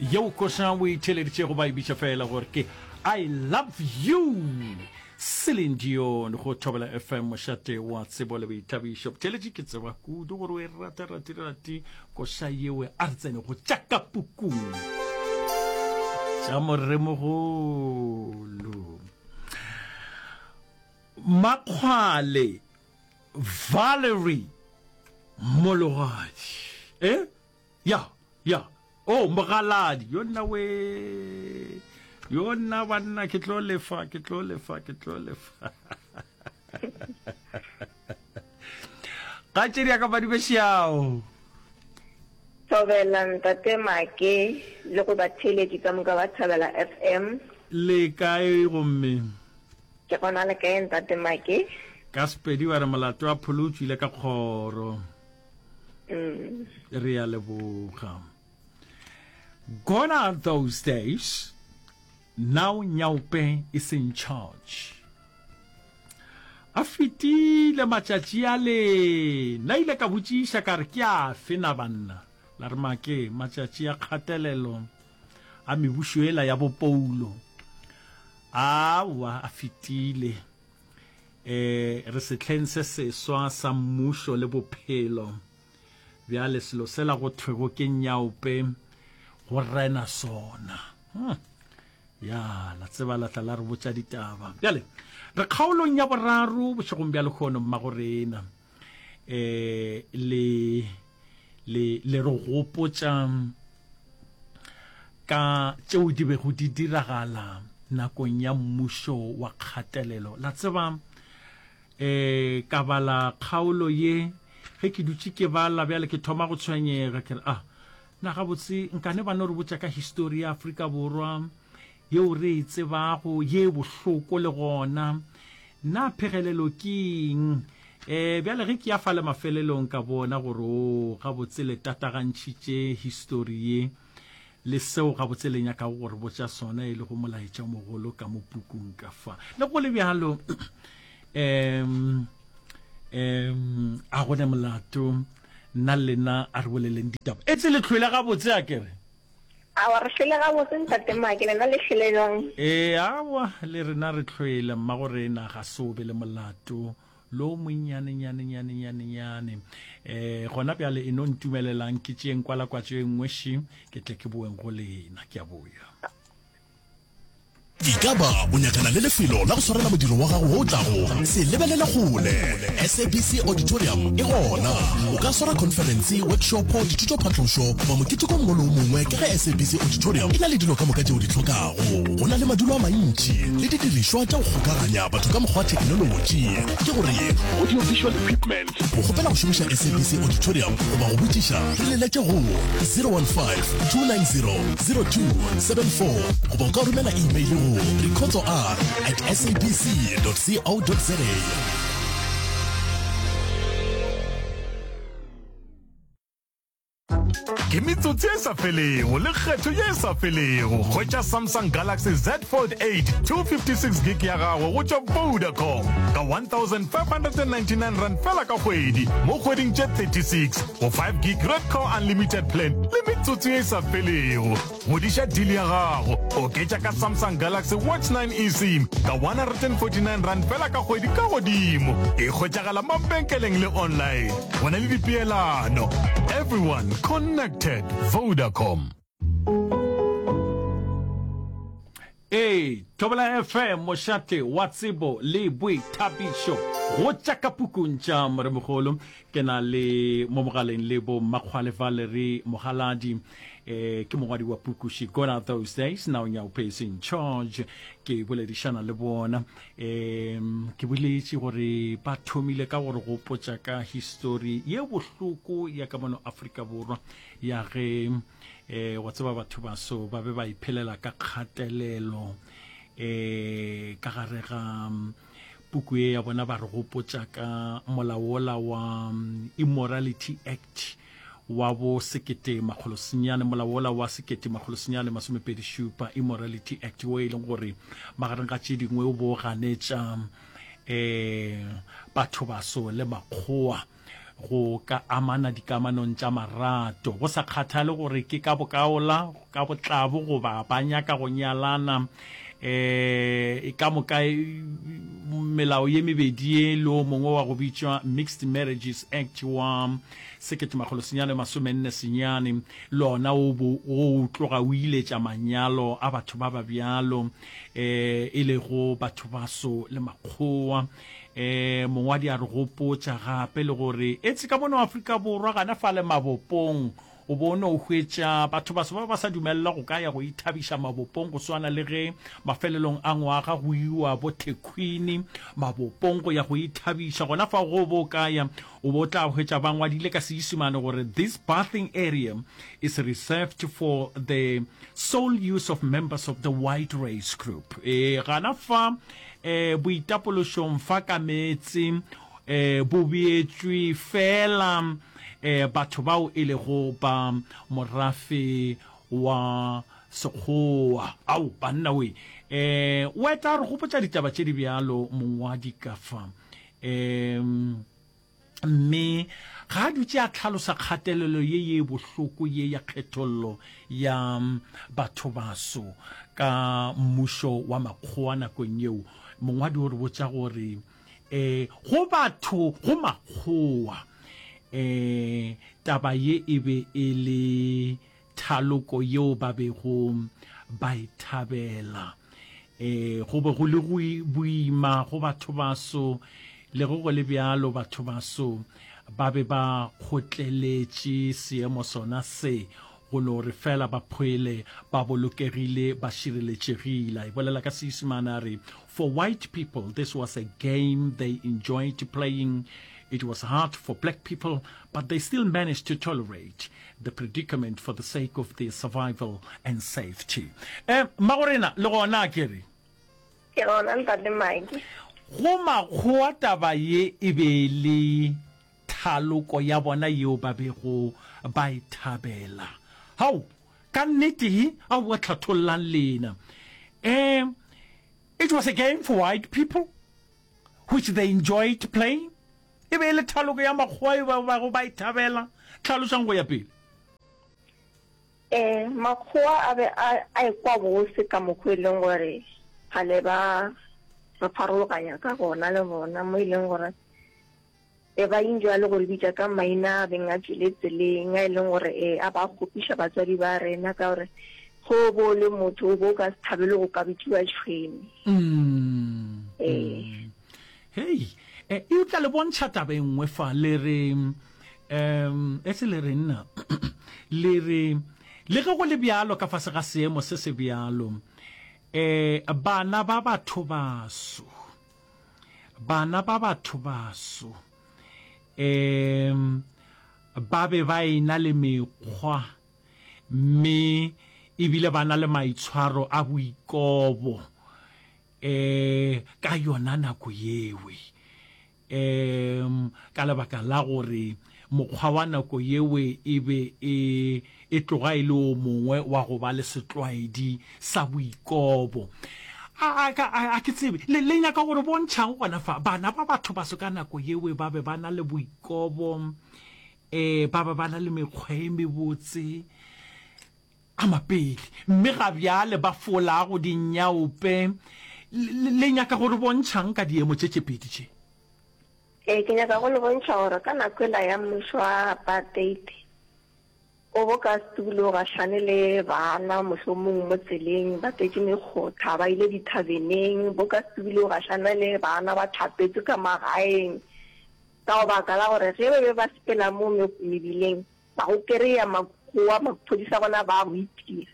Yeo koša o e theeleditšego ba e bitša fela gore ke I love you Celine Dion go Thobela FM mošate wa tsebo le boithabišo. Botheeletši ke tseba kudu gore o e rata rati rati koša yeo a re tsene go tša ka pukung tša moremogolo Makgwale Valerie Mologadi eh Ya, ya. Oh, mogaladi. Yo nna we. Yo nna banna ke tlo lefa, ke tlo lefa, ke tlo lefa. Gatšedi ya ka badibešao. Thobela ntate Make le go batheeletši ka moka ba Thabela FM. Le kae gomme? Ke gona le kae ntate Make? Ka Sepedi ba re molato wa pholo o tšwile ka kgoro. Mm. Re a leboga. Gone are those days. Now Nyaope is in charge. A fetile matšatši a le na ile ka botšiša ka re ke afe na banna la re make matšatši a kgatelelo a mebušo ela ya bopoulo awa a fetile E, re sehleng se seswa sa mmušo le bophelo. Bjale selo sela go thwego ke nyaope go rena sona. Hmm. Ya, la tseba la tla la re botša ditaba. Bjale, re kgaolong ya boraro bošegong bja lehono mmago rena. E, le, le, le re gopotša ka tšeo di bego di diragala nakong ya mmušo wa kgatelelo. La tseba, e, ka bala kgaolo ye, ge ke dutše ke bala bjale ke thoma go tshwenyega, ke re, ah, na gabotse nkane ba no re botša ka histori ya Afrika Borwa yeo re e tsebago, ye bohloko le gona. Na phegelelo ke eng? E, bjale ge ke ya fale mafelelong ka bona gore o gabotse le tatagantšhitše histori ye le seo gabotse le nyakago go re botša sona e lego molaetša o mogolo ka mo pukung ka fa. Le go le bjalo, um, um, a go ne molato, nna le lena a re boleleng ditaba. Etse le hlwele gabotse a ke re? Awa, re hlwele gabotse ntate Make, lena le hlwele bjang? Ee, awa, le rena re hlwele, mmagorena ga se o be le molato lo monnyane nyane nyane nyane nyane. Eh, gona bjale e no ntumelelang ke tšeeng kwalakwatšo e nngwe ši, ke tle ke boeng go lena. Ke a boya. Ekaba o nyakana le lefelo la go swarela modiro wa gago wo o tlago? Se lebelele kgole. SABC Auditorium e gona. O ka swara khonferense, workshopo, dithutophatlošo goba moketeko o mongwe le o mongwe ka ge SABC Auditorium e na le dilo ka moka tše o di hlokago. Go na le madulo a mantši le didirišwa tša go kgokaganya batho ka mokgwa wa theknolotši, ke gore audio-visual equipment. Go kgopela go šomiša SABC Auditorium goba go botšiša, re leletše go 015 290 0274 goba o ka romela email go rikhotsoR at sabc.co.za. Ke metsotso e sa felego le kgetho ye e sa felego. Hwetša Samsung Galaxy Z Fold 8 256 gig ya gago go tšwa Vodacom ka R1599 fela ka kgwedi mo kgweding tše 36 go 5 gig Redco Unlimited plan le metsotso ye e sa felego. Godiša deal ya gago, oketša ka Samsung Galaxy Watch 9 eSIM ka R149 fela ka kgwedi ka godimo. E hwetšagala mabenkeleng le online. Go na le dipeelano. Everyone connected. Vodacom. Ee, Thobela FM, mošate wa tsebo le boithabišo. Go tša ka pukung tša Moremogolo, ke na le mo mogaleng le bo Mmakgwale Valerie Mogaladi, eh, ke mongwadi wa puku She Gone Are Those Days, Now Nyaope is in Charge. Ke boledišana le bona. Eh, ke boletše gore ba thomile ka gore gopotša ka histori ye bohloko ya ka mono Afrika Borwa ya ge eh wa tseba batho baso ba be ba iphelela ka kgatelelo eh ka gare ga mm, puku ye ya bona ba re gopotša ka molaola wa mm, Immorality Act wa bo sekete makgolo senyane molaola wa sekete makgolo senyane masomepedi šupa Immorality Act wo e leng gore magareng ga tše dingwe o bo ganetša eh batho baso le makgowa. go ka amana dikamanong tša marato, go sa kgathale gore ke ka bokaola, ka botlabo goba ba nyaka go nyalana. E ka moka melao ye mebedi ye le o mongwe wa go bitšwa Mixed Marriages Act wa 1949 le ona o bo o tloga o iletša manyalo a batho ba ba bjalo e lego batho baso le makgowa. E, mongwadi a re gopotša gape le gore etse ka mono Afrika Borwa gana fale mabopong o bo o no hwetša batho baso ba ba sa dumelela go ka ya go ithabiša mabopong go swana le ge mafelelong a ngwaga go iwa bo Thekhwini mabopong go ya go ithabiša. Gona fao ge o bo o ka ya o bo o tla hwetša ba ngwadile ka Seisemane gore this bathing area is reserved for the sole use of members of the white race group. E, gana fa E, boitapološong fa ka meetse e, bo beetšwe feela e, batho bao e lego ba morafe wa Sekgowa. Ao, banna we! E, o eta a re gopotša ditaba tše di bjalo mongwadi ka fa. E, Mme ga a dutše a hlalosa kgatelelo ye ye bohloko ye ya kgethollo ya bathobaso ka mmušo wa makgowa nakong yeo, mongwadi o re botša gore e go batho, go makgowa, e taba ye e be e le Thaloko yeo ba bego ba e thabela. Ee, go be go le go boima go bathobaso. Le ge go le bjalo, bathobaso ba be ba kgotleletše seemo sona se, go no re feela ba phwele ba bolokegile, ba šireletšegile. A e bolela ka Seisemane a re, For white people, this was a game they enjoyed playing. It was hard for black people, but they still managed to tolerate. the predicament for the sake of their survival and safety. Eh, mmagorena, le gona a ke re? Ke gona, Ntate Mike. Go makgowa taba ye e be e le thaloko ya bona yeo ba bego ba e thabela. Hao, ka nnete he, aowa hlathollang lena. Eh, it was a game for white people which they enjoyed playing. E be e le thaloko ya makgowa yeo ba bego ba e thabela. Hlalošang go ya pele. Ee, makgowa a be a a ekwa bose ka mokgwa e leng gore kgale ba re farologanya ka gona le bona, mo e leng gore be ba enjoya le go re bitša ka maina a beng a tšwele tseleng, a e leng gore e a ba kgopiša batswadi ba rena ka gore ge o bo o le motho o bo o ka se thabele go ka bitšiwa tšhwene. Ee. Hei, e, eupša le bontšha taba e nngwe fa, le re, um, e se le re nna, le re, le ge go le bjalo ka fase ga seemo se se bjalo, e, bana ba batho baso, bana ba batho baso, um, ba be ba e-na le mekgwa, mme ebile ba na le maitshwaro a boikobo. E, ka yona nako yewe, e, ka lebaka la gore mokgwa wa nako yewe e be e, e tloga e le o mongwe wa go ba le setlwaedi sa boikobo. A, a, a, a ke tsebe, le, le nyaka gore bontšhang gona fa, bana ba batho baso ka nako yewe ba be ba na le boikobo, e, ba be ba na le mekgwa e mebotse, A mapele, mme ga bjale ba folago dinyaope. Le, le nyaka go re bontšhang ka diemo tše tše pedi tše? Ee, ke nyaka go le bontšha gore ka nako ela ya mmušo wa apartheid, o bo ka se dule o gahlane le bana mohlomong mo tseleng ba tletše mekgotha ba ile dithabeneng, bo ka se dule o gahlana le bana ba hlapetše ka magaeng ka go baka la gore ge ba be ba sepela mo mebileng Ba go kereya makgowa, maphodisa bona ba go itia.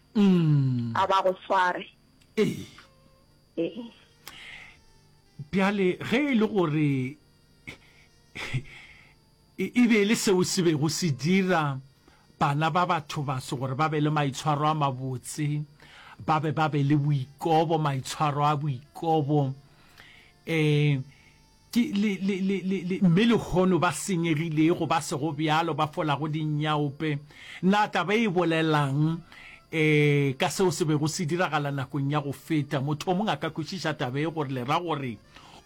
A ba go sware. Ee. Ee. Bjale ge e le gore e be e le seo se bego se dira bana ba batho baso gore ba be le maitshwaro a mabotse, ba be ba be le boikobo, maitshwaro a boikobo, um Ke, le, le, le, le, le, mme lehono ba senyegilego, ba sego bjalo, ba folago dinyaope. Na taba e bolelang e, ka seo se bego se diragala nakong ya go feta? Motho o mongwe a ka kwešiša taba ye gore le ra gore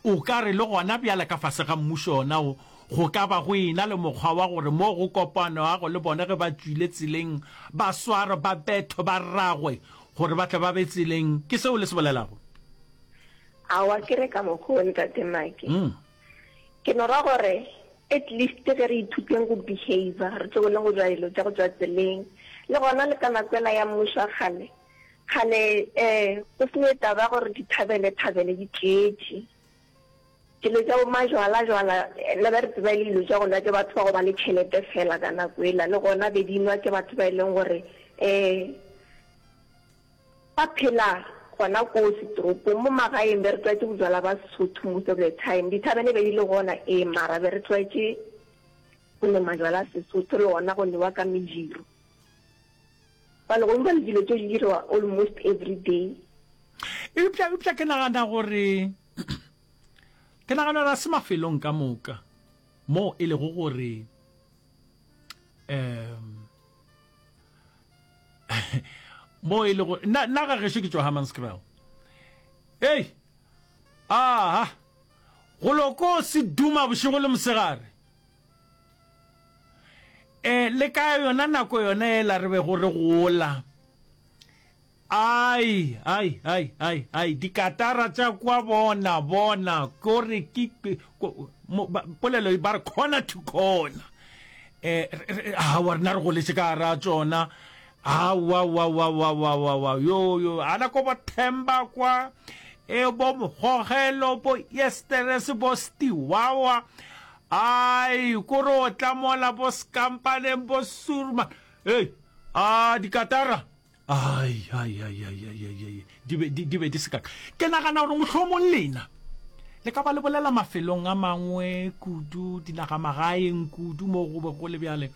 o ka re le gona bjale ka fase ga mmušo ona wo, Go ka ba go ena le mokgwa wa gore mo go kopanwago le bona ge ba tšwile tseleng ba swarwe, ba bethwe, ba ragwe gore ba tle ba be tseleng. Ke seo le se bolelago? Aowa, ke re ka mokgwa wo, Ntate Maki. Ke no ra gore at least ge re ithuteng go behaver, re tlogeleng go dira dilo tša go tšwa tseleng. Le gona le ka nako ela ya mmušo wa kgale, kgale um go se ne taba ya gore dithabele-thabele di tletše. Dilo tša bo majwala-jwala, nna be re tseba e le dilo tša go nwa ke batho ba go ba le tšhelete fela ka nako ela, le gona be di nwa ke batho ba e leng gore um ba phela gona koo setoropong. Mo magaeng be re tlwaetše bojwala ba Sesotho most of the time. Dithabene be di le gona ee, mara be re tlwaetše go nwa majwala a Sesotho le gona go newa ka mejiro. Bjale gomme bjale dilo tšeo di diriwa almost every day. Eupša, eupša ke nagana gore, ke nagana gore ga se mafelong ka moka mo e lego gore um mo e lego nna nna ga gešo ke tšwa Hammanskraal. Hei, aha, go loko se duma bošego le mosegare. E, le ka yona nako yona ela re bego re gola. Ai, ai, ai, ai, ai, dikatara tša kwa bona, bona, kore ke, mo, ba, polelo e ba re corner to corner. E, re, aowa, rena re goletše ka gara tšona. Aowa, wa, wa, wa, wa, wa, wa, yo, yo, ana ko bo Themba kwa, e, bo Mogogelo, bo Esterese, bo Stiwawa, ai, kore o tla mola bo Skampaneng, bo Surma, hei, a, dikatara. Ai, ai, ai, ai, ai, ai, ai, di be, di, di be di se kaka. Ke nagana gore mohlomong lena le ka ba le bolela mafelong a mangwe kudu, dinagamagaeng kudu mo go be go le bjale.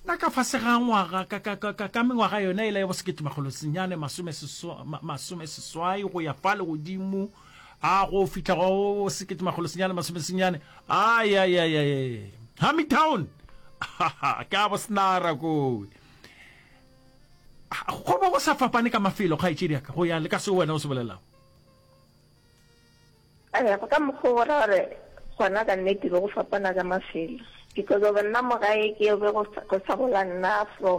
Na ka fase ga ngwaga, ka, ka, ka, ka, ka mengwaga yona ela ya bo sekete makgolo senyane masome seswa, ma, masome seswai go ya fale godimo, a go fihla go sekete makgolo senyane masome senyane, ai, ai, ai, ai, ai, Hamitown, ke a bo snara kowe. Go be go sa fapane ka mafelo, kgaetšedi ya ka, go ya le ka seo wena o se bolelago. Ee, go ka mokgwa o ra gore gona ka nnete be go fapana ka mafelo because of nna mo gae ke be go sa gola nna from.